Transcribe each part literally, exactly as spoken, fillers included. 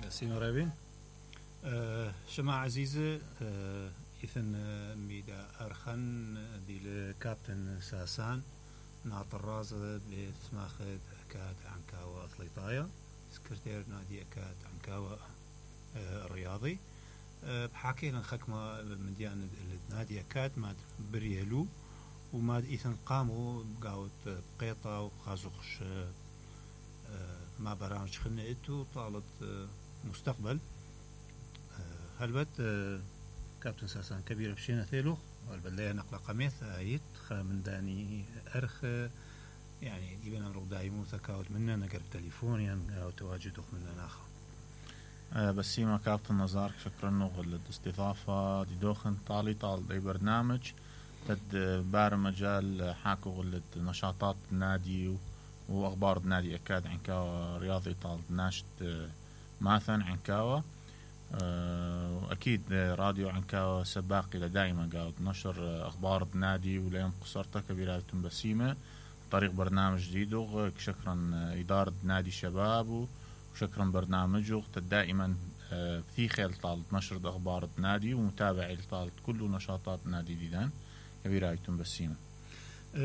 Merci Norabin. شما عزيزة إثن ميدا أرخن دي الكابتن ساسان ناط الرازة بسماخة أكاد عنكاوة أطليطايا سكرتير نادي أكاد عنكاوة الرياضي بحكي لنا خكمة من ديان النادي أكاد ما بريالو وما إثن قاموا بقاوت بقيطة وخازوخش ما برامج خلنا إتو طالت مستقبل هلبت كابتن ساسان كبير بشينا ثيلو والبلية نقل قميث آيت خامن داني أرخ يعني يبين أمرو دايمو ثكاوت منا نقرب تليفونيا أو تواجدوخ منا ناخر أه بس ما كابتن نزار شكرا نوغل الاستضافة دي دوخن طالي طال دي برنامج تد بار مجال حاكو غلت نشاطات النادي وأخبار النادي أكاد عنكاوة رياضي طال ناشط ماثن عنكاوة أكيد راديو عنكاوة سباقي دائما قاعد نشر أخبار النادي ولين قصرتها كبيرة بسيمة طريق برنامج جديد شكرا إدارة نادي الشباب وشكرا برنامجه دائما في خيل طالت نشر أخبار النادي ومتابعة طالت كل نشاطات النادي ديدان كبيرة بسيمة.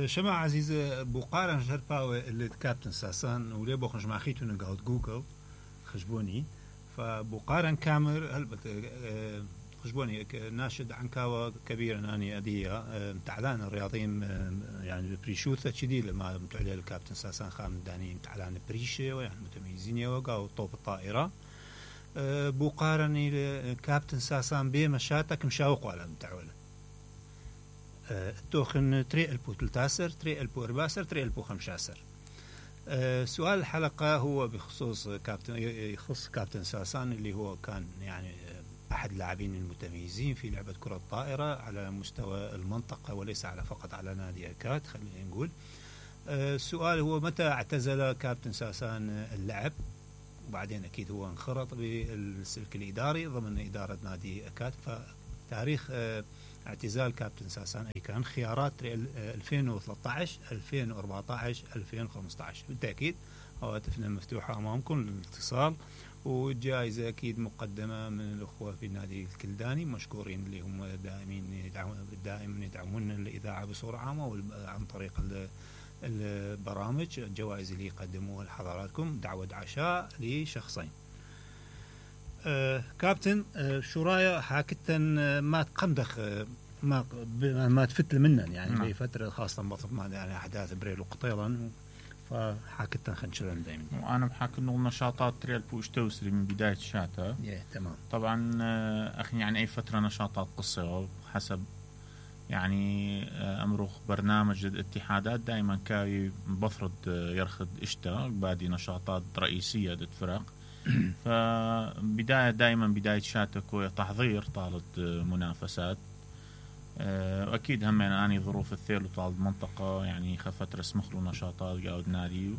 شما عزيزة بقارن شرفاوة اللي كابتن ساسان وليه بوخنش مع خيتو نقعد جوجل خشبوني فبقارن كامر هلبت خشبوني ناشد عنكاوة كبيرة ناني أدية متعلان الرياضيين يعني بريشوثة شديد لما متعلي الكابتن ساسان خام داني متعلان بريشة ويعني متميزين يوقعوا طوب الطائرة بقارن الكابتن ساسان بيه مشاتك مشاوقوا على متعولة توخن تري ألبو تلتاسر تري ألبو أرباسر تري ألبو خمشاسر أه سؤال الحلقة هو بخصوص كابتن يخص كابتن ساسان اللي هو كان يعني أحد اللاعبين المتميزين في لعبة كرة الطائرة على مستوى المنطقة وليس على فقط على نادي أكاد خلينا نقول. أه السؤال هو متى اعتزل كابتن ساسان اللعب وبعدين أكيد هو انخرط بالسلك الإداري ضمن إدارة نادي أكاد فتاريخ أه اعتزال كابتن ساسان أي كان خيارات ألفين وثلاثة عشر ألفين وأربعة عشر ألفين وخمسة عشر بالتأكيد هواتفنا مفتوحة أمامكم للاتصال والجائزة أكيد مقدمة من الأخوة في النادي الكلداني مشكورين اللي هم دائمين دائما يدعمون الإذاعة بصورة عامة عن طريق البرامج الجوائز اللي يقدموها لحضراتكم دعوة عشاء لشخصين. آه كابتن آه شو رايك حاكتن آه ما تقمدخ آه ما ما تفتل منا يعني نعم. بفترة خاصة بطف ما يعني أحداث بريل وقطيلا فحاكتن خنشلن دائما. وأنا بحكي إنه نشاطات ريال بوش توسري من بداية شاتا. yeah, تمام. طبعا آه أخي يعني أي فترة نشاطات قصيرة حسب يعني آه أمرخ برنامج الاتحادات دائما كاي بفرض آه يرخد إشتا بادي نشاطات رئيسية ضد فرق. فبداية دائما بداية شاتك تحضير طالت منافسات أكيد هم يعني أني ظروف الثيل وطالت منطقة يعني خفت رسمخ له نشاطات قاعد نادي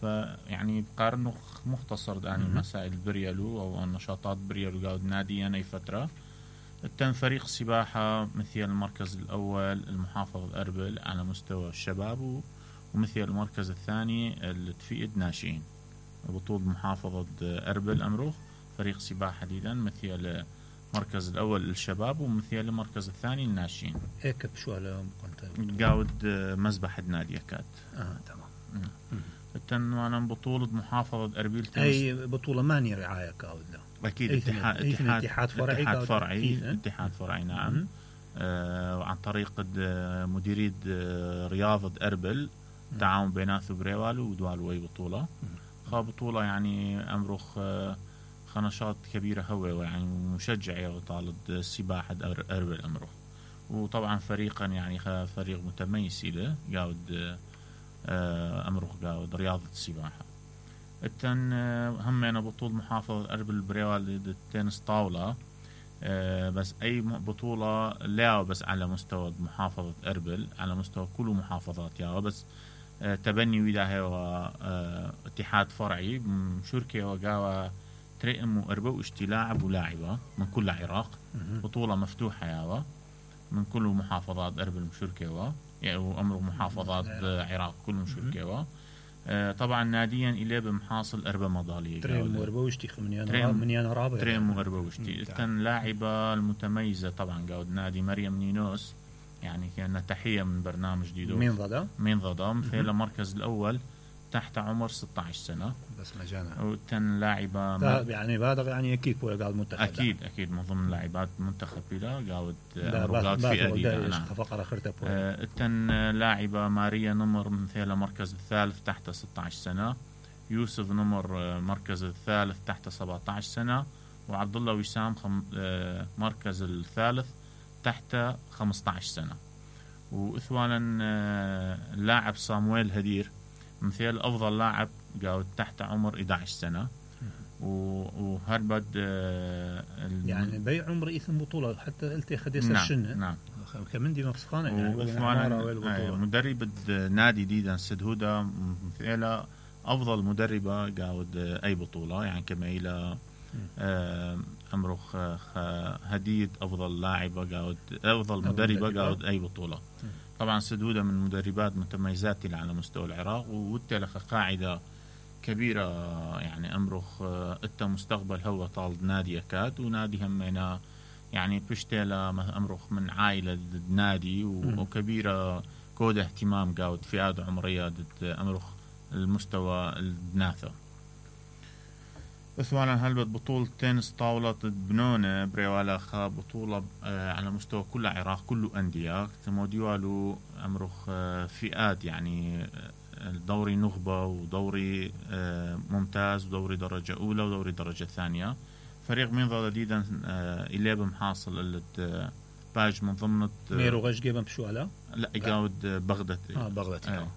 فيعني بقارنه مختصر يعني مسائل بريالو أو النشاطات بريالو قاعد نادي أنا فترة التم فريق سباحة مثل المركز الأول المحافظة أربل على مستوى الشباب ومثل المركز الثاني التفيد ناشئين بطولة محافظة أربل أمروخ فريق سباحة حديدا مثل المركز الأول للشباب ومثل المركز الثاني الناشئين. هيك بشو على كنت قاود مزبحة نادي أكاد. آه تمام. التن أنا بطولة محافظة أربيل تنس. أي بطولة ماني رعاية كاود له. أكيد اتحاد اتحاد اتحاد فرعي اتحاد فرعي اتحاد فرعي نعم. آه عن طريق مديرية رياضة أربل تعاون بيناث بريوالو ودوالو أي بطولة. خا بطولة يعني أمرخ خنشات كبيرة هو يعني مشجع طالب السباحة أربل أمرخ وطبعا فريقا يعني فريق متميز له قاود أمرخ قاود رياضة السباحة. التن همنا بطولة محافظة أربل بريوال التنس طاولة بس أي بطولة لا بس على مستوى محافظة أربل على مستوى كل محافظات يا بس تبني ويدا هو اتحاد فرعي شركة وقاوة ترئم وأربو اشتي لاعب ولاعبة من كل العراق بطولة مفتوحة يا من كل محافظات أربل مشركة يعني أمر محافظات عراق كل مشركة طبعا ناديا إليه بمحاصل أربع مضالية تريم وأربوشتي منيان رابع تريم وأربوشتي التن لاعبة المتميزة طبعا قاود نادي مريم نينوس يعني كأنها تحية من برنامج ديدو مين ضدا مين ضدا في المركز الأول تحت عمر ستة عشر سنة بس مجانا والتن لاعبة يعني بالغ يعني أكيد قاعد منتخب أكيد أكيد من ضمن لاعبات منتخب بلا قاود قاود في أدية فقرة خرطة آه التن لاعبة ماريا نمر مثل المركز الثالث تحت ستة عشر سنة يوسف نمر مركز الثالث تحت سبعة عشر سنة وعبد الله وسام خم... آه مركز الثالث تحت خمسة عشر سنة وإثوانا آه اللاعب صامويل هدير مثل أفضل لاعب قاود تحت عمر إحدى عشر سنة وهربد آه يعني بي عمر إثم بطولة حتى قلت خديس نعم الشنة نعم كمان دي مفسخانة يعني مدرب نادي ديدا سدهودة مثل أفضل مدربة قاود أي بطولة يعني كما إلى آه أمرخ هديد أفضل لاعبة قاود أفضل مدربة قاود أي بطولة طبعا سدهودة من مدربات متميزات على مستوى العراق وتلقى قاعدة كبيرة يعني أمرخ أنت مستقبل هو طال نادي أكاد ونادي همنا يعني بشتيلا أمرخ من عائلة نادي وكبيرة كود اهتمام قاود فئات عمرية أمرخ المستوى الناثر اثوانا هلبت بطولة تنس طاولة بنونة بريوالا خا بطولة على مستوى كل العراق كله أندية تموديوالو أمرخ فئات يعني دوري نخبة ودوري ممتاز ودوري درجة أولى ودوري درجة ثانية فريق من ضد جديدا إليه بمحاصل اللي باج من ضمن ميرو غش جيبن بشوالا لا يقاود بغداد اه بغداد آه.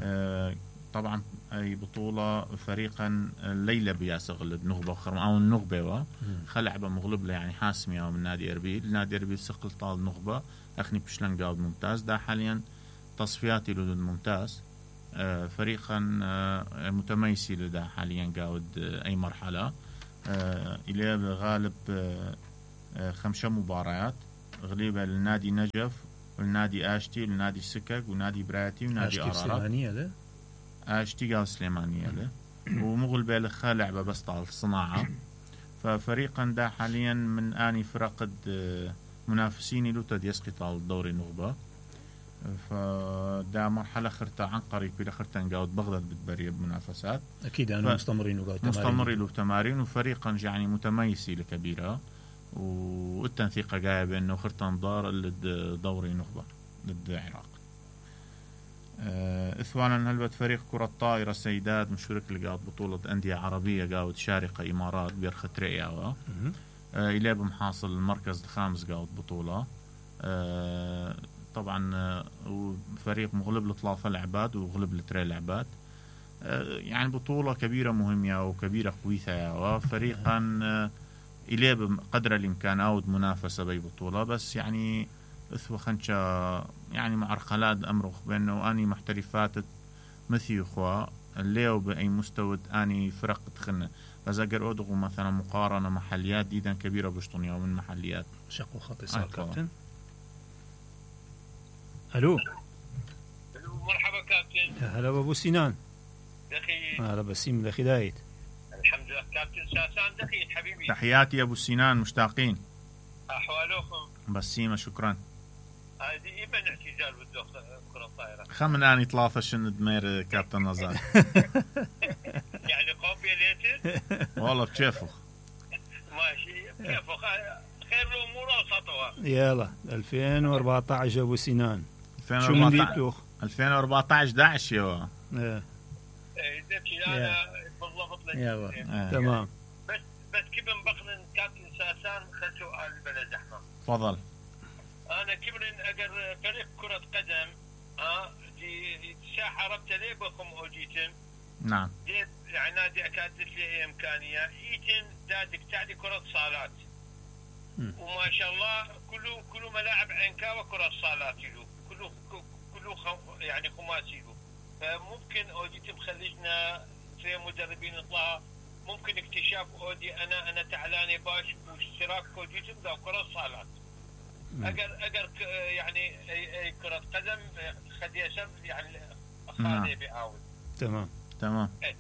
آه. طبعا أي بطولة فريقا الليلة بياسغ نخبة وخرم أو النخبة خلعبة مغلب يعني حاسمية من نادي أربيل نادي أربيل سقل طال نخبة أخني بشلن قاود ممتاز ده حاليا تصفياتي لدود ممتاز آه فريقا آه متميسي لده حاليا قاود آه أي مرحلة آه إليه غالب آه آه خمسة مباريات غليبة للنادي نجف والنادي آشتي والنادي سكك والنادي براتي والنادي أرارات آشتي قاو سليمانية له ومغلبة لخا لعبة بس طال الصناعة ففريقا دا حاليا من آني فرق منافسيني لو تد يسقي طال الدوري النخبة فدا مرحلة خرطة عن قريب إلى خرطة نقاود بغداد بتبري بمنافسات أكيد أنا مستمرين وقاود مستمرين له تمارين وفريقا يعني متميسي لكبيرة والتنثيقة جاية بأنه خرطة نضار للدوري نخبة ضد العراق إثوانا هلبت فريق كرة طائرة سيدات مشارك لقاود بطولة أندية عربية قاود شارقة إمارات بيرخة رئياوة إليه بمحاصل المركز الخامس قاود بطولة أه طبعا أه فريق مغلب لثلاثة لعبات وغلب لتري لعبات أه يعني بطولة كبيرة مهمة وكبيرة قويثة فريقا أه إليه بقدر الإمكان أود منافسة بأي بطولة بس يعني اثوى خنشا يعني معرقلات أمرخ بأنه أني محترفات مثي أخوة الليو بأي مستوى أني فرق تخنة فزاقر أدغو مثلا مقارنة محليات ديدا كبيرة بشطنية ومن محليات شقو خطي صار كابتن ألو مرحبا كابتن هلا أبو سنان دخي هلا بسيم دخي دايت الحمد لله كابتن ساسان دخي حبيبي تحياتي أبو سنان مشتاقين أحوالكم بسيمة شكرا هذه إيمان اعتزال بالدوخ كرة الطائرة خمن أني طلافة شن دمير كابتن نزار يعني قوبية ليتن والله بشيفه ماشي بشيفه خير الأمور وسطها يلا ألفين وأربعة عشر أبو سنان شو من ديتوخ ألفين وأربعة عشر داعش يوا ايه ذكي أنا بالضبط لك يلا تمام بس بس كيف بقنن كابتن ساسان خل سؤال بلا زحمة تفضل أنا كبرن أجر فريق كرة قدم ها دي ساحة ربط لي بكم أوجيتم نعم دي يعني نادي أكادت لي إمكانية إيتن دادك تعدي كرة صالات وما شاء الله كله كله ملاعب عنكا وكرة صالات له كله كله خم يعني خماسي له فممكن أوجيتم خلينا في مدربين يطلع ممكن اكتشاف أودي أنا أنا تعلاني باش واشتراك أوجيتم ذا كرة صالات أجر أجر يعني كرة قدم خدي أسب يعني خالي بيعاود تمام تمام. ايه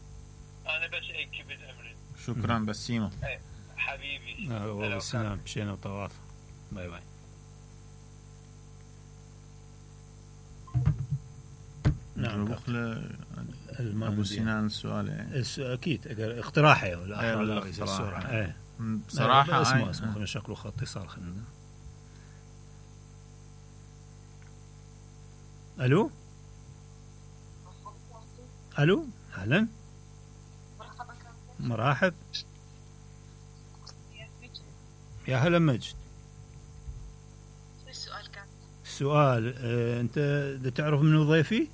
انا بس اي كبد امري. شكرا بسيمه. ايه حبيبي. آه والسلام مشينا وطواف. باي باي. نعم بخل ابو سنان السؤال يعني اكيد اقتراحي ولا ايه اقتراح ايه بصراحه اسمه اسمه خلينا شكله خط اتصال خلينا. الو الو اهلا مرحب يا هلا مجد. السؤال كان السؤال اه انت تعرف منو ضيفي؟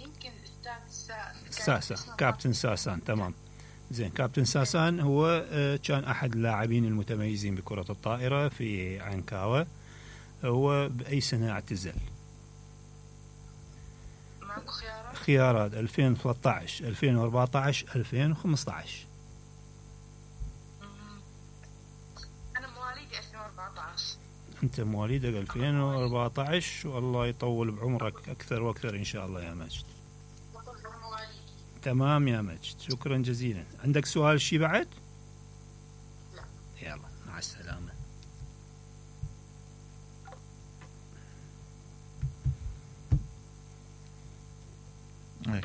يمكن الاستاذ ساسان كابتن ساسان. تمام زين. كابتن ساسان هو كان أحد اللاعبين المتميزين بكرة الطائرة في عنكاوة. هو بأي سنة اعتزل؟ معكم خيارات؟ خيارات ألفين وثلاثة عشر ألفين وأربعة عشر ألفين وخمسة عشر. أنا مواليدي ألفين وأربعة عشر. أنت مواليدك ألفين وأربعة عشر والله يطول بعمرك أكثر وأكثر إن شاء الله يا مجد. تمام يا مجد شكرا جزيلا. عندك سؤال شي بعد؟ لا. يلا مع السلامة.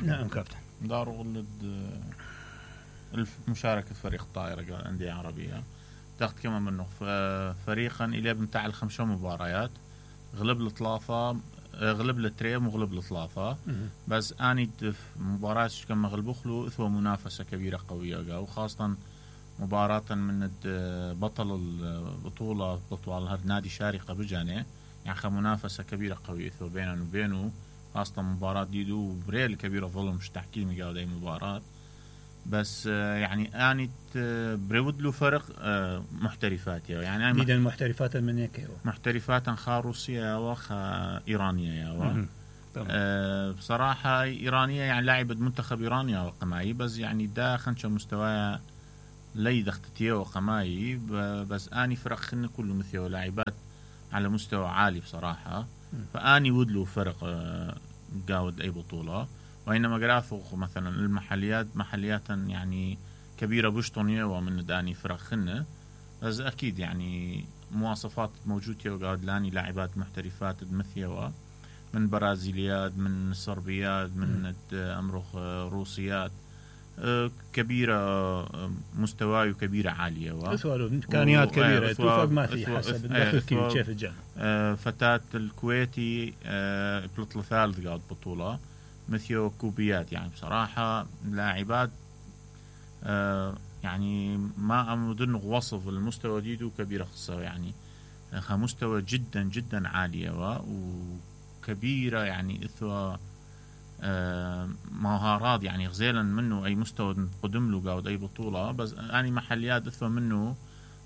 نعم كابتن. دار ولد مشاركة فريق الطائرة قال أندية عربية تاخذ كمان منه فريقا إلى بمتاع الخمسة مباريات غلب الثلاثة غلب التريم وغلب الثلاثة بس اني مباراة كما غلبوخلو اثوى منافسة كبيرة قوية وخاصة مباراة من بطل البطولة بطولة نادي شارقة بجاني يعني منافسة كبيرة قوية اثوى بيننا وبينه خاصة مباراة ديدو بريل كبيرة ظلم مش تحكيمي قال اي مباراة بس يعني اني بريود له فرق محترفات يعني ديدا محترفات من هيك محترفات خا روسيا وخا ايرانيه يا أه بصراحه ايرانيه يعني لاعبه منتخب ايرانيا وقماي بس يعني دا خنشه مستوى لي دختتيه وقماي بس اني فرق خن كله مثل لاعبات على مستوى عالي بصراحه فاني ودلو فرق أه قاود اي بطوله وإنما قراثو مثلا المحليات محليات يعني كبيرة بشطنية ومن داني فرق خنة بس أكيد يعني مواصفات موجودة وقاعد لاني لاعبات محترفات مثيوة من برازيليات من صربيات من أمرخ روسيات كبيرة مستوى وكبيرة عالية إمكانيات كبيرة توفق ما في حسب الدخل كيف الجانب. فتاة الكويتي بلطل ثالث قاعد بطولة مثل كوبيات يعني بصراحة لاعبات آه يعني ما أمدن وصف المستوى ديدو كبيرة خصة يعني مستوى جدا جدا عالية وكبيرة يعني إثوى آه مهارات يعني غزيلا منه أي مستوى قدم له قاود أي بطولة بس يعني محليات إثوى منه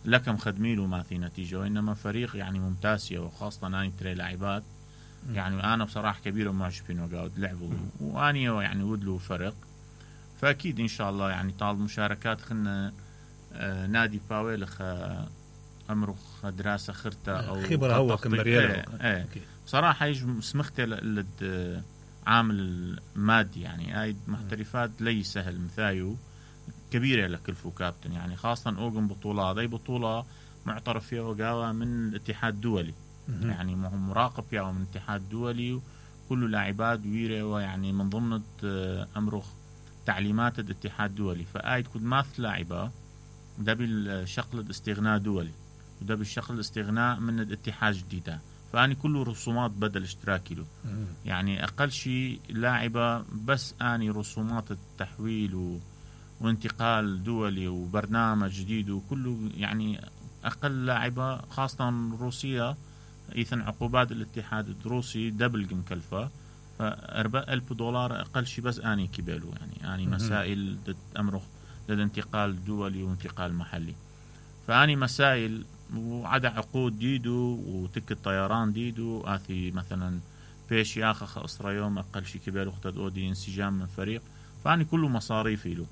لكم خدميله ما في نتيجة وإنما فريق يعني ممتازية وخاصة أنا تري لاعبات يعني أنا بصراحة كبيرة معجبين وقاعد لعبوا وأني يعني ودلو فرق فأكيد إن شاء الله يعني طال مشاركات خلنا آه نادي باويلخ آه أمرخ دراسة خرطة أو خبرة هو كمريالة ايه ايه بصراحة يجب سمختي لد عامل المادي يعني هاي محترفات لي سهل مثايو كبيرة لكلفو كابتن يعني خاصة أوغن بطولة هذه بطولة معترف فيها وقاوة من الاتحاد الدولي يعني مراقب فيها من الاتحاد الدولي وكل لاعبات ويرة ويعني من ضمن أمرخ تعليمات الاتحاد الدولي فآيد كل ماث لاعبة ده بالشغل الاستغناء دولي وده بالشغل الاستغناء من الاتحاد جديدة فأني كله رسومات بدل اشتراكي له يعني أقل شيء لاعبة بس أني رسومات التحويل و... وانتقال دولي وبرنامج جديد وكله يعني أقل لاعبة خاصة روسيا إذن عقوبات الاتحاد الروسي دبل مكلفة فأربع ألف دولار أقل شيء بس أني كبيلو يعني أني مسائل أمره للانتقال دولي وانتقال محلي فأني مسائل وعدا عقود ديدو وتك الطيران ديدو آثي مثلا بيش ياخخ أسرى يوم أقل شيء كبيلو اختد أودي انسجام من فريق فأني كله مصاريفي له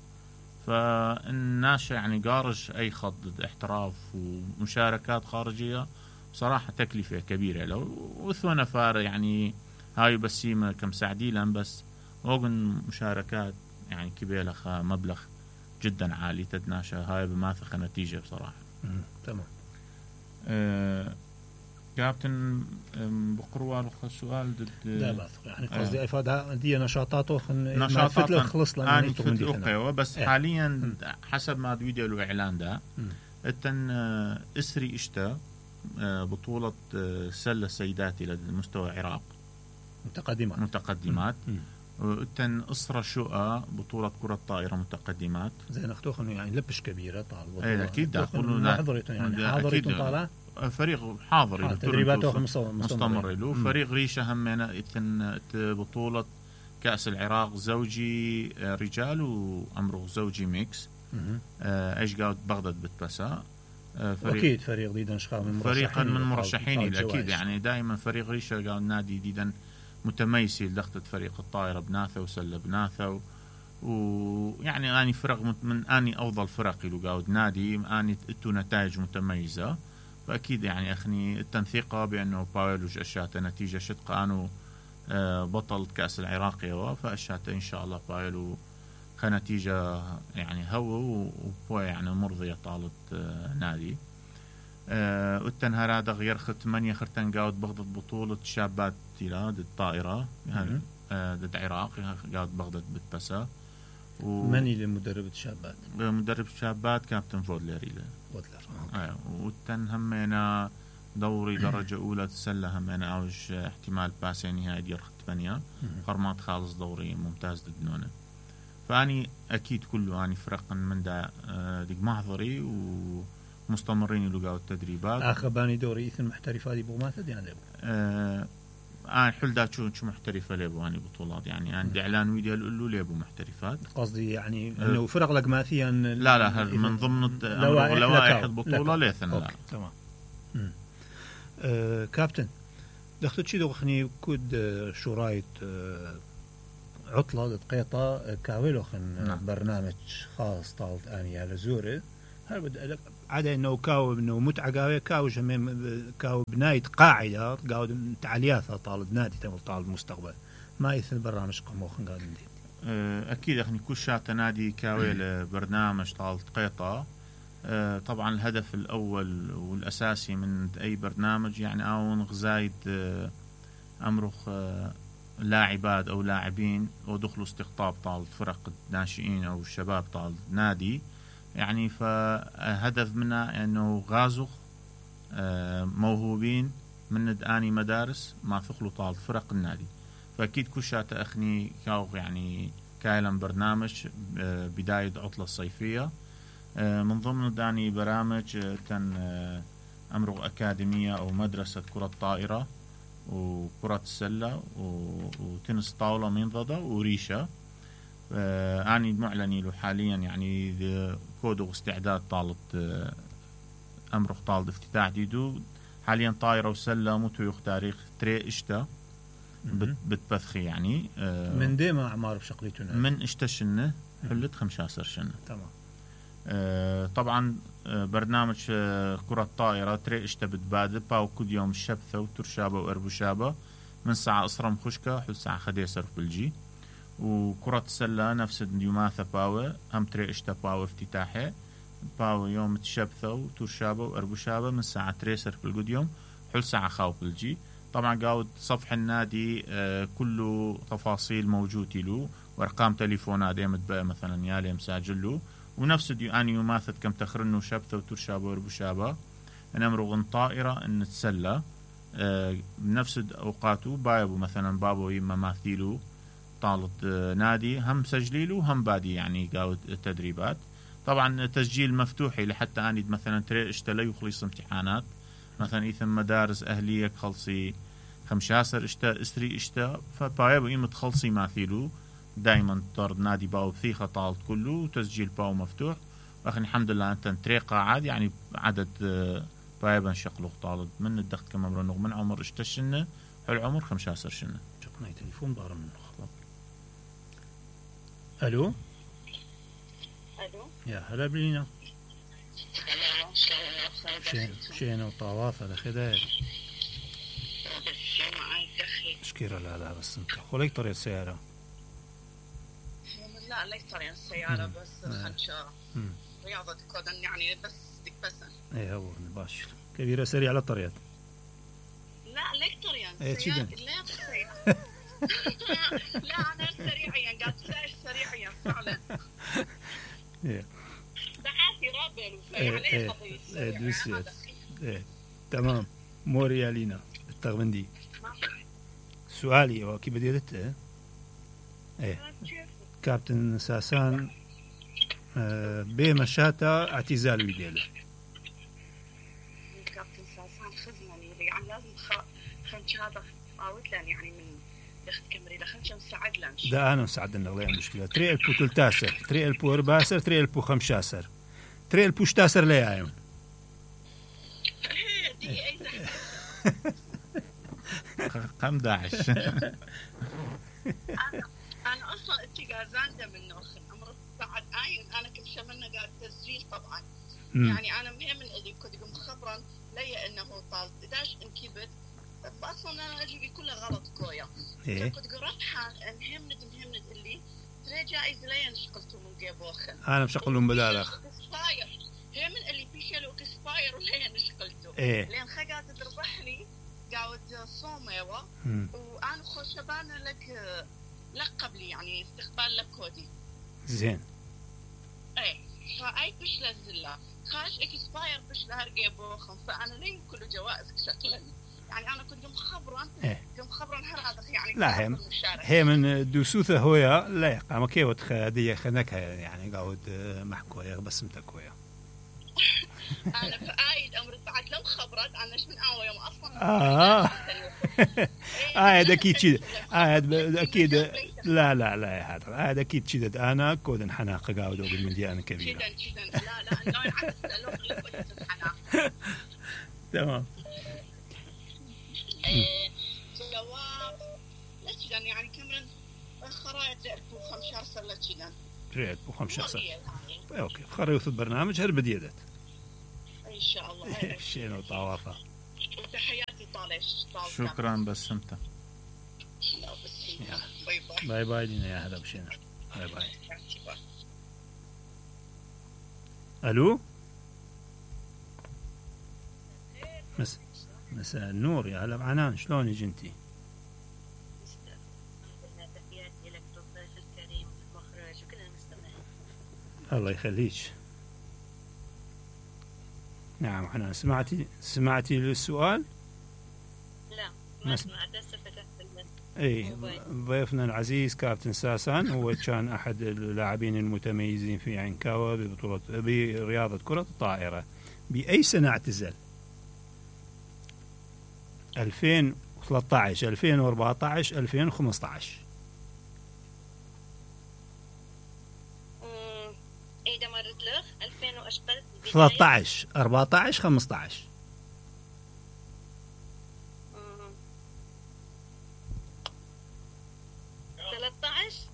فالناس يعني قارج أي خط احتراف ومشاركات خارجية بصراحة تكلفة كبيرة له وثونا فار يعني هاي بسيمة كم سعديلا بس وغن مشاركات يعني كبيلة مبلغ جدا عالي تدناشا هاي بماثخة نتيجة بصراحة. تمام. أه كابتن بقروال السؤال ضد لا بأس يعني قصدي إفادة دي نشاطاته نشاطات خلص لأن فتل بس ايه. حاليا م. حسب ما فيديو الإعلان ده التن إسري إشتا بطولة سلة سيداتي للمستوى العراق متقدمات متقدمات التن أسرة شقة بطولة كرة طائرة متقدمات زين أختوخن يعني لبش كبيرة طال ايه أكيد ده حضرتهم يعني حاضرتهم طالع فريق حاضر تدريباته مستمر له فريق ريشة همنا إثن بطولة كأس العراق زوجي رجال وأمره زوجي ميكس آه ايش قاعد بغداد بتبسا آه فريق اكيد فريق ديدن شخا من فريقا من مرشحين اكيد يعني دائما فريق ريشة قاعد نادي ديدن متميز لدخلة فريق الطائرة بناثة وسلة بناثة ويعني اني فرق من اني افضل فرقي لو قاعد نادي اني اتو نتائج متميزة فاكيد يعني اخني التنثيقة بانه باولوج اشاته نتيجة شدق انه آه بطل كأس العراق فاشاته ان شاء الله باولو كنتيجة يعني هو وبوا يعني مرضية طالت آه نادي آه التنهار هذا غير خد ثمانية خرتن قاعد بغداد بطولة شابات تلا ضد الطائرة يعني آه ضد العراق قاعد بغداد بتبسا و... مني اللي مدرب الشابات مدرب الشابات كابتن فودلر فودلر آه والتن همينا دوري درجة أولى تسلى همينا عوج احتمال باسي نهائي ديال خد ثمانية فرمات خالص دوري ممتاز ضد نونه فاني اكيد كله اني فرق من دا ديك محضري ومستمرين لقاو التدريبات اخر باني دوري اثن محترفات يبغوا ما تد يعني آه انا حل دا شو شو محترفه ليبو اني بطولات يعني عندي اعلان ويديو يقولوا ليبو محترفات قصدي يعني انه آه فرق لقماثيا لا لا من ضمن لوائح البطوله ليثن لا تمام آه كابتن دخلت شي دوخني كود شو رايت آه عطلة دقيقة كاولوخن نعم. برنامج خاص طالت آني على زوري هل بدأ عدا إنه كاو إنه متعة قوية كاو جميع كاو بناية قاعدة قاو تعلياتها طالت نادي تمر طالت المستقبل ما يثل برنامج قموخن قاعد ندي أكيد إحنا كل شات نادي كاوي لبرنامج طالت قيطة طبعا الهدف الأول والأساسي من أي برنامج يعني أون غزايد أمرخ لاعبات أو لاعبين ودخلوا استقطاب طال فرق الناشئين أو الشباب طال نادي يعني فهدف منها أنه غازخ موهوبين من آني مدارس ما ثقلوا طال فرق النادي فأكيد كل شات أخني كاو يعني كايلم برنامج بداية عطلة الصيفية من ضمن داني برامج كان أمره أكاديمية أو مدرسة كرة طائرة وكرة السلة وتنس طاولة منضدة وريشة آه أني معلني له حاليا يعني كودو استعداد طالت آه أمرخ طالت افتتاح ديدو حاليا طائرة وسلة متويخ تاريخ تري اشتا بتبثخي يعني آه من ديما أعمار بشقليتنا من اشتشنه حلت خمسة سنة تمام آه طبعا برنامج كرة طائرة تري اشتبت بادة باو كل يوم الشبثة وترشابة وأربوشابة من ساعة أصرم خشكة حل ساعة خديسر في بلجي وكرة السلة نفس اليوماثة باو هم تري اشتا باو افتتاحي باو يوم الشبثة وترشابة وأربوشابة من ساعة تريسر في القديوم حل ساعة خاو بلجي طبعا قاود صفح النادي آه كله تفاصيل موجود له وارقام تليفونات ديمت بقى مثلا يالي مساجل له ونفس ديو اني يماثل كم تخرنو شبثة وترشابة وربوشابة نمرغن طائرة ان تسلى آه بنفس اوقاته بايبو مثلا بابو يما ماثيلو طالت آه نادي هم سجليلو هم بادي يعني قاود التدريبات طبعا تسجيل مفتوحي لحتى اني مثلا تري اشتلي يخلص امتحانات مثلا ايثم مدارس اهلية خلصي خمشاسر اشتا اسري اشتا فبايبو يما تخلصي ماثيلو دائما طرد نادي باو بثيخة طالت كله وتسجيل باو مفتوح واخي الحمد لله انت طريقة عاد يعني عدد بايبا شقلوق طالت من الدخت كما مرنوغ من عمر اشتشنة حل عمر خمشاسر شنة شقناي تليفون بار من خلاص الو الو يا هلا بلينا شين شينا وطواف على خداير شكرا لا لا بس انت خليك طريق سيارة لا ليكتريان السيارة بس خنشة رياضة كودن يعني بس تكبسن. ايه هو باش كبيرة سريعة على الطريق. لا ليكتريان ايه سيارة لا سريعة. لا أنا سريعيا قاعد سايش سريعيا فعلا. ايه. دعاتي رابل وفي عليه قضية سريعة. ايه تمام. موريا لينا التغبندي. سؤالي وكيف بدي أدته؟ ايه كابتن ساسان آه بمشاتا اعتزال ويديله. كابتن ساسان خزنني يعني لازم خنش هذا قاوتلن يعني من يخت كمري لخنش مساعد لنش. ده أنا مساعد لنا غير مشكلة. تري البو تلتاسر تري البو أرباسر تري البو خمشاسر تري البو شتاسر ليه عيون. دي أي قم داعش. أنا أنا أصلاً اتجازان ده من نوخن أمر بعد عين أنا كل شيء منه قاعد تسجيل طبعاً. م. يعني أنا مهم اللي كنت قم خبراً لي إنه طال إداش انكبت أصلاً أنا أجيبي كله غلط كويا. إيه. كنت قرأتها مهمند مهمند اللي ترى جائز لي نشقلته من جيبوخن. أنا بشغلهم بدالخ. هم من اللي في شيء لو كسباير ولا نشقلته. إيه. لأن خجات تربحني. قاعد صوميوة وأنا خوشبان لك لقب لي يعني استقبال لك كودي زين ايه فأي بش لزلا خاش اكسباير بش لهرقي بوخم فأنا لين كله جوائز شكلا يعني أنا كنت مخبرا إيه. كنت مخبرا هذا يعني لا هم هي من دوسوثة هويا لا يقام كيوت خدية خنكها يعني قاعد محكوية بس متكوية أنا فأيد أمرت بعد لو خبرت أنا إيش من أول يوم أصلاً آه آه هذا أكيد شيء آه هذا أكيد لا لا لا هذا هذا أكيد شيء أنا كودن حناقة قاعد أقول من دي أنا كبيرة جدا جدا لا لا أنا عكس لو غلبت الحناقة تمام جواب لا جدا يعني كمرن خرايط رأبو خمشار سر لا جدا رأبو خمشار سر أوكي خريطة البرنامج هل بديدت إن شاء الله شينو طوافة وتحياتي طالش شكرا بسمته باي باي باي باي لينا يا هلا بشينا باي باي ألو مس مساء النور يا هلا بعنان شلونك انتي؟ الله يخليك. نعم حنان سمعتي سمعتي السؤال؟ لا ما سمعت هسه فتحت اي ضيفنا العزيز كابتن ساسان هو كان احد اللاعبين المتميزين في عنكاوة ببطولة برياضة كرة الطائرة. بأي سنة اعتزل؟ ألفين وثلاثة عشر ألفين وأربعة عشر ألفين وخمسة عشر اذا مرت له ألفين واشقل ثلاثة عشر أربعة عشر خمسة عشر ثلاثة عشر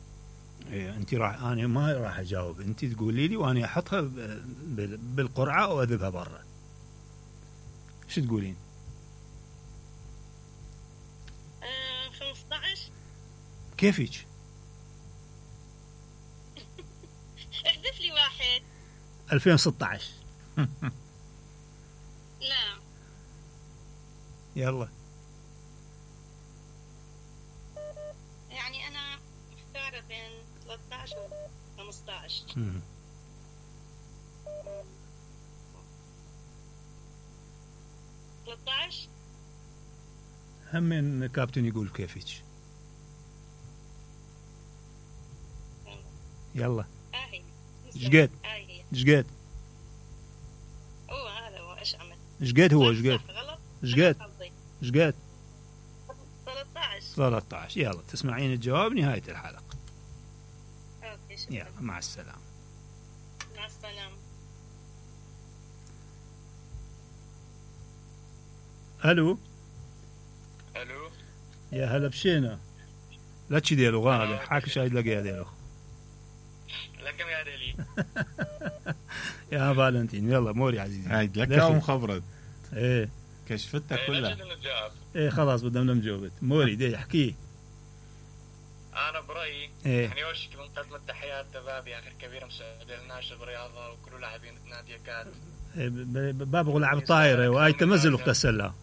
ايه انت راح انا ما راح اجاوب انت تقولي لي وانا احطها بالقرعه واذبها برا. شو تقولين؟ آه خمسة عشر كيفك؟ احذف لي واحد. ألفين وستة عشر لا يلا يعني انا محتاره بين ثلاثة عشر و خمسة عشر. ثلاثة عشر هم من كابتن يقول كيفك. يلا اهي شقد شقد هو هذا هو ايش عمل شقد هو شقد شقد شقد ثلاثة عشر ثلاثة عشر. يلا تسمعين الجواب نهاية الحلقة. اوكي شكرا. يلا مع السلامة. مع السلامة. الو الو يا هلا بشينا. لا تشديلو غالي حاك شايد لقيا ديلو لكم يا ديلي يا فالنتين. يلا موري عزيزي هاي لك يوم خبرت ايه كشفتها كلها ايه خلاص بدنا نجاوبت. موري دي احكي. انا برا برايي إيه. يعني اول شيء بنقدم التحيات لبابي اخر كبير مساعد الناشط بالرياضه وكل لاعبين نادي كات. باب غلعب طايره واي تمزل وقتسلا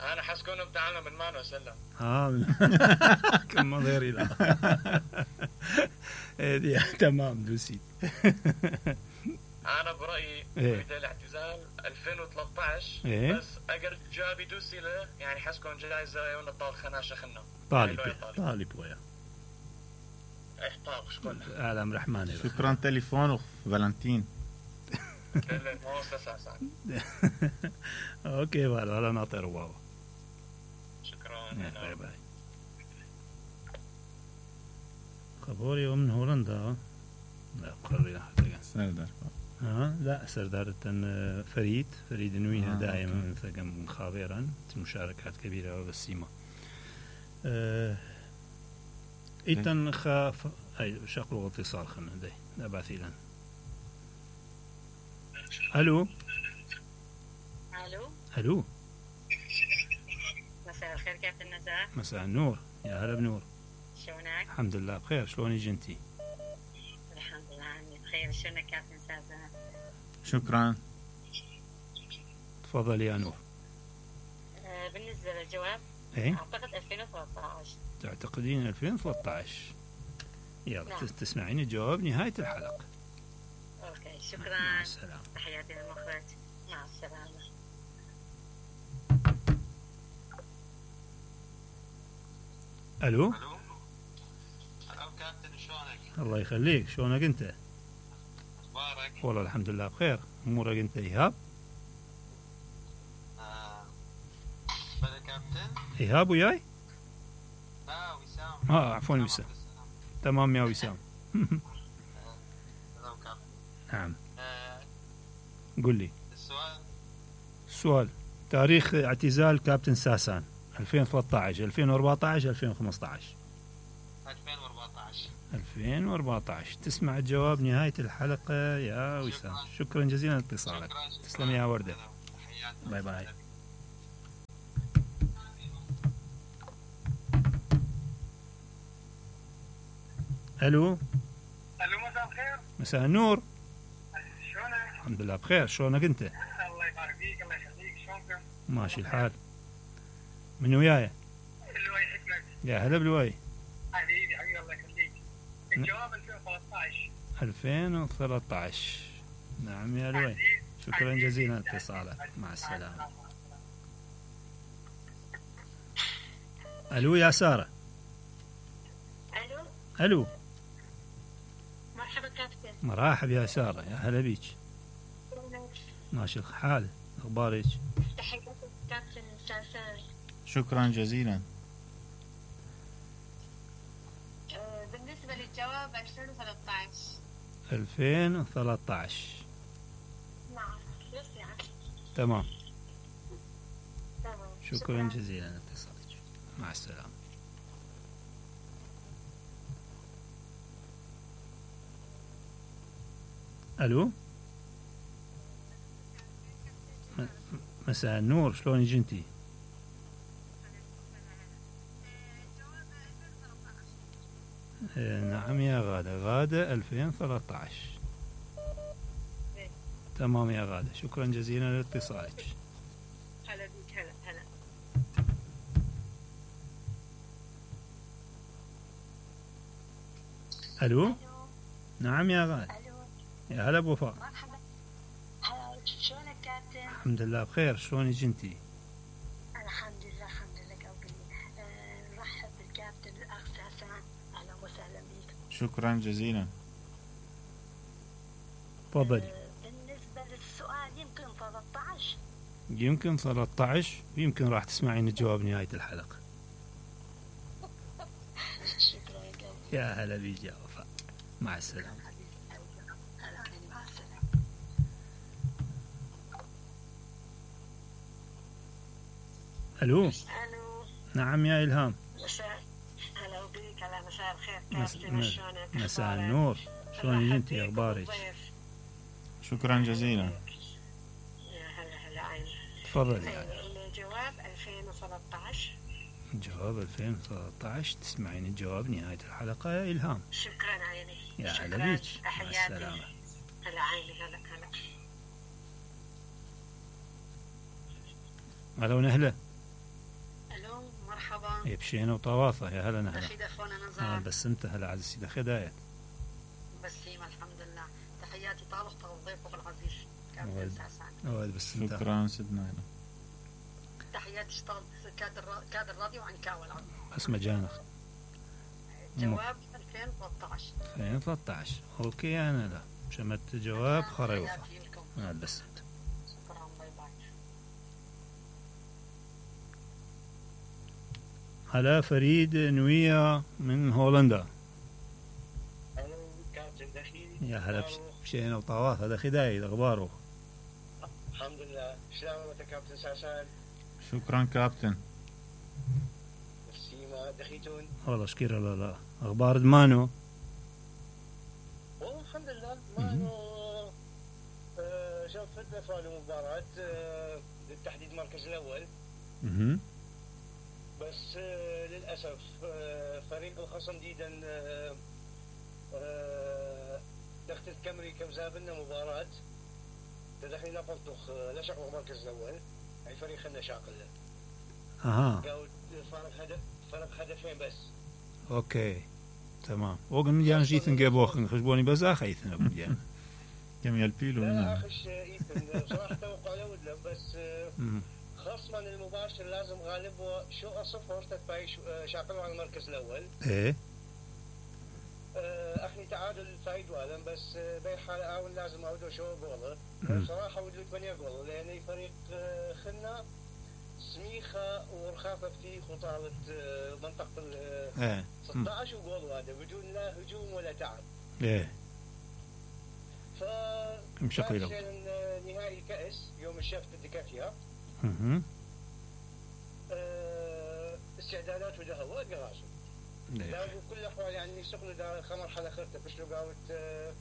انا حاسكون بتعلم من مانو سلم اه كم غيري لا ايه تمام دوسي. انا برايي إيه. بدايه الاعتزال ألفين وثلاثة عشر إيه. بس اقدر جابي دوسي له يعني حاسكون جايزه ونطال خناشه خنا طالب طالب ويا احطاب شكون عالم رحمن. شكرا تليفون فالنتين. اوكي ولا ناطر واو. شكرا. باي باي. خبوري من هولندا. لا قرينا حتى سردار. ها لا سردار فريد فريد نويها آه دائما من ثقم خابرا مشاركات كبيرة بالسيما. أه إيتن خاف أي شغل اتصال خلنا ده نبعث لنا. ألو ألو ألو مساء الخير كابتن نزار. مساء النور يا هلا بنور. شلونك؟ الحمد لله بخير. شلونك انتي؟ الحمد لله أنا بخير. شلونك كابتن سازان؟ شكرا. تفضل يا نور. آه بالنسبة للجواب ايه أعتقد ألفين وثلاثة عشر. تعتقدين ألفين وثلاثة عشر؟ يلا نعم. تسمعين الجواب نهاية الحلقة. أوكي شكرا. مع السلامة. تحياتي للمخرج. مع السلامة. ألو الو الو كابتن شلونك؟ الله يخليك. شلونك انت؟ اخبارك؟ والله الحمد لله بخير. امورك انت ايهاب؟ آه. بلا كابتن؟ ايهاب وياي؟ لا وسام. اه عفوا وسام. تمام يا وسام. الو كابتن. نعم آه. قل لي السؤال السؤال. تاريخ اعتزال كابتن ساسان ألفين وثلاثة عشر ألفين وأربعة عشر ألفين وخمسة عشر؟ ألفين وأربعة عشر. ألفين وأربعة عشر. تسمع الجواب نهاية الحلقة يا وسام. شكرا جزيلا لاتصالك. تسلم يا وردة. باي باي. الو الو مساء الخير. مساء النور. شلونك؟ الحمد لله بخير. شلونك انت؟ الله يبارك فيك الله يخليك. شلونكم؟ ماشي الحال. من وياي؟ اللواي حكمت. يا هلا بلواي. حبيبي حبيبي الله يخليك. الجواب ألفين وثلاثة عشر. ألفين وثلاثة عشر. نعم يا لواي. شكرا جزيلا لاتصالك. مع السلامة. الو يا سارة. ألو الو مرحبا كابتن. مرحب يا سارة. يا هلا بيك. ماشي الحال. اخبارك؟ تحياتي كابتن سازان. شكرا جزيلا. آه بالنسبة للجواب ألفين وثلاثة عشر. ألفين وثلاثة عشر. نعم يسمع. تمام. تمام. شكرا جزيلا لاتصالك. مع السلامة. الو مساء النور. شلونك انتي؟ نعم يا غادة. غادة ألفين وثلاثة عشر. تمام يا غادة. شكرا جزيلا لاتصالك. هلا بيك. هلا هلا. الو نعم يا غادة. ألو يا هلا بوفاء. مرحبا. هلا شلونك كابتن؟ الحمد لله بخير. شلونك انتي؟ الحمد لله الحمد لله قلبي. آه، نرحب بالكابتن الأخ ساسان. أهلا وسهلا بك. شكرا جزيلا. تفضلي. آه، بالنسبة للسؤال يمكن ثلاثة عشر. يمكن ثلاثة عشر. يمكن راح تسمعين الجواب نهاية الحلقة. شكرا يا قلبي. يا هلا بيك يا وفاء. مع السلامة. هلا بيك. مع السلامة. الو ألو نعم يا إلهام. مساء. هلا بيك. هلا مساء الخير مس... كابتن. مس... شلونك؟ مساء أخبارك؟ النور. شلونك مرحبا انتي؟ بيك اخبارك؟ وبالضيف. شكرا جزيلا. يا هلا هلا عين. تفضلي يعني. الجواب ألفين وثلاثة عشر. جواب ألفين وثلاثة عشر. تسمعين الجواب نهاية الحلقة يا إلهام. شكرا عيني. يا شكراً. هلا بيك. مع تحياتي. السلامة. هلا عيني. هلا هلا هلا ونهلا. الو مرحبا. يبشينا وطواطة. يا هلا نهلا. رشيدة فونا آه نزار. بس انت هلا عز السيدة خداية. بسيمة الحمد لله. تحياتي طالق ضيفك العزيز كابتن ولد. ساسان. ولد بس انت. شكرا سيدنا هلا. تحياتي اشتغلت كادر كادر راديو عنكاوي العظيم. بس مجانك. جواب ألفين وثلاثة عشر. ألفين وثلاثة عشر. اوكي انا لا شمت جواب خريوفة. تحياتي لكم. آه بس انت. شكرا. باي باي. هلا فريد نوية من هولندا. الو كابتن دخيل. يا هلا بشينا وطواطة. هذا خداية اخباره. الحمد لله. سلامة كابتن ساسان. شكرا كابتن. سيما دخيتون. والله شكرا. لا لا اخبار دمانو. والله الحمد لله ما انه آه شوف فتنا في المباراة آه للتحديد المركز الاول. اها بس آه للاسف آه فريق الخصم ديدا آه آه دخلت الكامري كم زابلنا مباراة تدخلنا نقلتخ لا شعور المركز الاول. اي فريق خلنا شاقل. اها قاعد فرق هدف فرق هدفين بس. اوكي تمام. وقت مليان جيت نجيبوخ خشبوني بزاخ ايثنا مليان. كم يلبيلو لا منها. اخش ايثن بصراحة توقع له ودلم بس آه مم. خصما المباشر لازم غالبه شو صفر تتباي شاقلوا على المركز الاول. ايه اخني تعادل فايد والم بس باي حال اول لازم اودو شو جوله. مم. بصراحه ودلو ثمانية جول لان فريق آه، خلنا سميخه ورخافه فتيخ وطالت آه، منطقه ال ايه مم. ستة عشر جول هذا بدون لا هجوم ولا تعب. ايه ف مشكلة. عشان نهائي كاس يوم الشفت الدكاتره اها آه، استعدادات وده هو قراسه. لا ايه بكل الاحوال يعني سقنا دا خمر حلا خرته باش لو قاوت آه،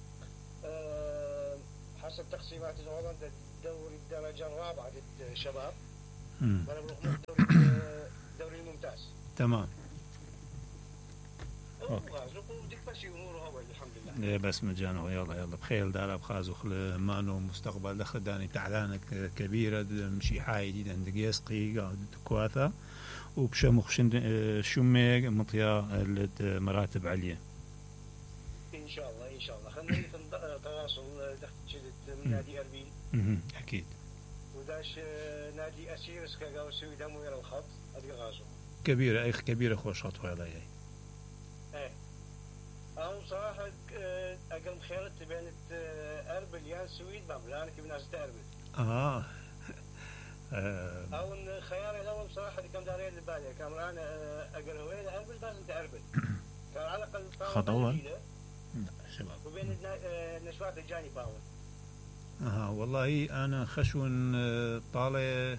آه، حسب تقسيمات هولندا دوري الدرجه الرابعه للشباب. مم. وانا بروح من الدوري آه، الدوري الممتاز. تمام. وغازو وديك ماشي اموره اول الحمد لله. ايه بس مجانو. يلا يلا بخير دار بخازو خل مانو مستقبل دخل داني تعلانك كبيرة مشي حاي دي عند يسقي قاعد كواثا وبشمخ شميق مطيا مراتب عليا. ان شاء الله ان شاء الله خلينا في تواصل دخلت شدت من نادي اربيل. اها اكيد. وداش آه، نادي اسيرس كاو سوي دمو يرى الخط هذه غازو. كبيرة اي كبيرة خوش خطوة يلا هي. ايه أو صراحة آه، أقل خيرت بين آه، أربل يا سويد بابلان كيف ناس تأربل. اه آه، أو إن خياري الأول صراحة اللي كان دارين لبالي كان أنا آه، أقل هوين أربل لازم تأربل. كان على الأقل خط أول؟ شباب. وبين النا- آه، النشوات الجاني باول. اها والله انا خشون آه، طالع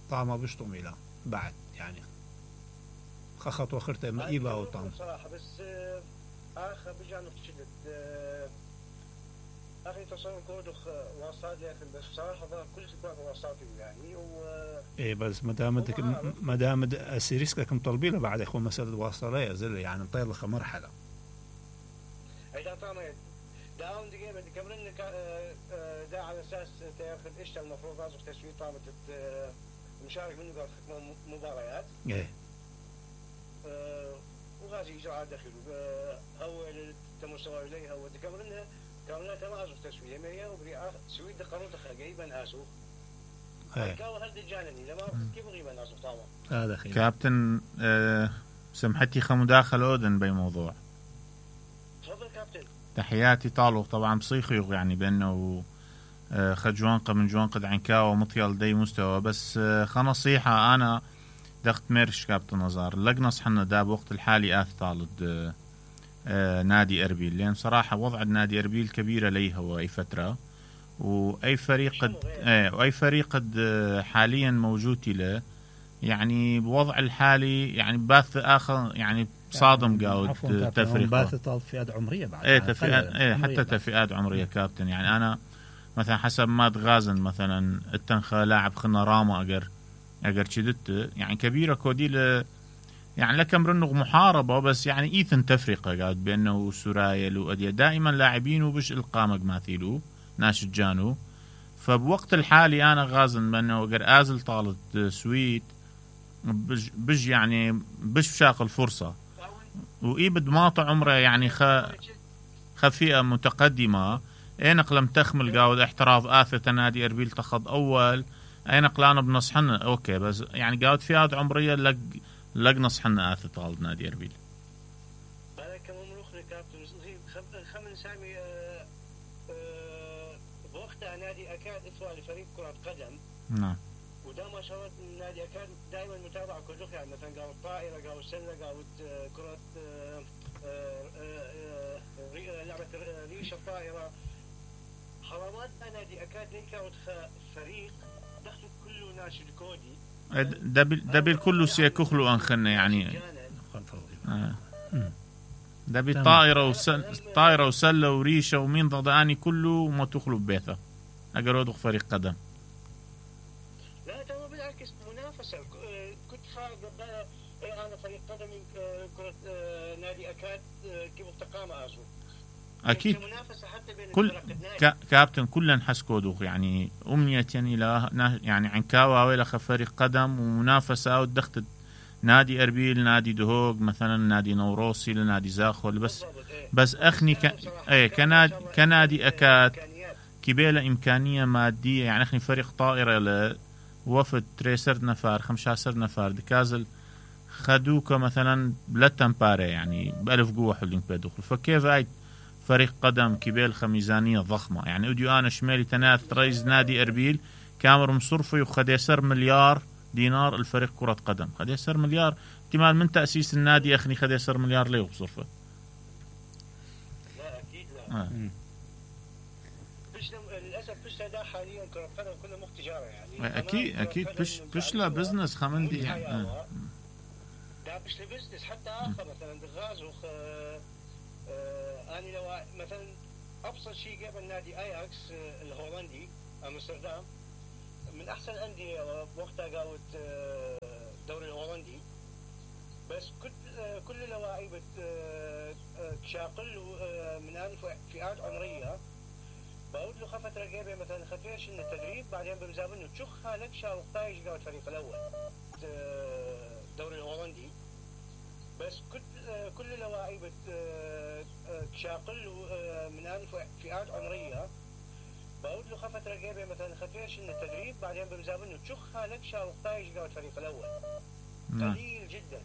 طعمه بشطم الى بعد يعني خخط وخرته ما ايبا وطعم. صراحة بس آه، آخر بجانب شدت آه، أخي تصور كودخ واصل يا أخي بس صراحة ظهر كل شيء كان واصلاتي يعني و ايه بس ما دام بدك ما دام اسيريسكا مطلبينه بعد اخو مساله واصله زل يعني نطير لك مرحله. إذا طعمت داون دقيقة بدي كمرن دا على أساس تأخذ إيش المفروض لازم تسوي طعمة مشارك منه قاعد تحكم مباريات. ايه آه، وغازي إجراءات داخل هو المستوى إليه هو تكمرنها كاملة تمازح تسوية مية وبري سويد قانون تخرجيبا آسو. ايه كاو هل دجانني لما كيف غيبا آسو طعمة. هذا خير. كابتن آه سمحتي خمداخل أودن بموضوع. تفضل كابتن. تحياتي طالو طبعا بصيخيغ يعني بأنه آه خجوانقة من جوانقة عنكاوة مطيال دي مستوى بس آه خنصيحة أنا دخت ميرش كابتن نزار لقنص حنا دا بوقت الحالي آث طالد آه آه نادي أربيل لأن صراحة وضع النادي أربيل كبيرة ليه هو أي فترة وأي فريق قد آه وأي فريق قد آه حاليا موجود له يعني بوضع الحالي يعني باث آخر يعني صادم قاود تفريق باث طال فئات عمرية بعد. ايه تفريقات ايه حتى تفريقات عمرية كابتن يعني أنا مثلا حسب ما تغازن مثلا التنخى لاعب خلنا راما أجر أجر شدت يعني كبيرة كودي يعني لكم رنغ محاربة بس يعني إيثن تفرقة قاعد بأنه وسرايل وأدية دائما لاعبين وبش القامة ماثيلو ناش جانو. فبوقت الحالي أنا غازن بأنه قر آزل طالت سويت بج, بج يعني بش بشاق الفرصة وإيبد ماطع عمره يعني خ خفيئة متقدمة اينق لم تخمل قاود احتراف آثة نادي أربيل تخض أول اينق لانا بنصحنا اوكي بس يعني قاود فئات عمرية لق لق نصحنا آثة طالب نادي أربيل. أنا كمملوك لكابتن خمن سامي أه أه بوقتها نادي أكاد إثوى لفريق كرة قدم. نعم. ودا ما شاء الله نادي أكاد دائما متابعة كل يعني مثلا قاود طائرة قاود سلة قاود كرة أه أه أه لعبة ريشة طائرة. حرامات نادي أكاد ليك فريق دخل كله ناشد كودي. دبل دبل كله سيكخلو أنخنا يعني. آه. دبل طائرة وسل طائرة وسلة وريشة ومين ضداني كله ما تخلو ببيته. أجرود فريق قدم. لا ترى بالعكس منافسة كنت خارج أنا فريق قدم كرة نادي أكاد كيف التقامة أزو. أكيد كل كا كابتن كلن حسكودوخ يعني أمنية إلى يعني عن كاوا ولا فريق قدم ومنافسة ودخت نادي أربيل نادي دهوق مثلا نادي نوروسي لنادي زاخول بس بس أخني ك إيه كنادي كنادي أكاد كبيلة إمكانية مادية يعني أخني فريق طائرة لوفد تريسر نفار خمسة نفار دكازل خدوك مثلا بلتمباري يعني بألف قوة حلين بدخل فكيف هاي فريق قدم كبيل خميزانية ضخمة يعني أديو أنا شمالي تناث رئيس نادي أربيل كامر مصرفي وخد يسر مليار دينار الفريق كرة قدم خد يسر مليار احتمال من تأسيس النادي أخني خد يسر مليار ليه بصرفه. لا أكيد لا. آه. بش للأسف بش لا حاليا كرة قدم كله مخ تجارة يعني. أكيد أكيد بش بش لا بزنس خمندي يعني. آه. لا بش لبزنس حتى آخر مثلا دغازوخ أنا لو مثلا أبسط شيء قبل نادي أياكس الهولندي أمستردام من أحسن الأندية وقتها قاوت الدوري الهولندي بس كل كل لواعيبة تشاقل من هذه فئات عمرية بقول له خفت رقابة مثلا خفيش إن التدريب بعدين بمزابنه تشخها لك شاو طايش قاوت الفريق الأول الدوري الهولندي بس كل كل لواعيبة تشاقل من هذه فئات عمرية بقول له خفت رقابة مثلا خفيش إن التدريب بعدين بمزابنه تشخها لك شاو طايش قاوت الفريق الأول قليل جدا.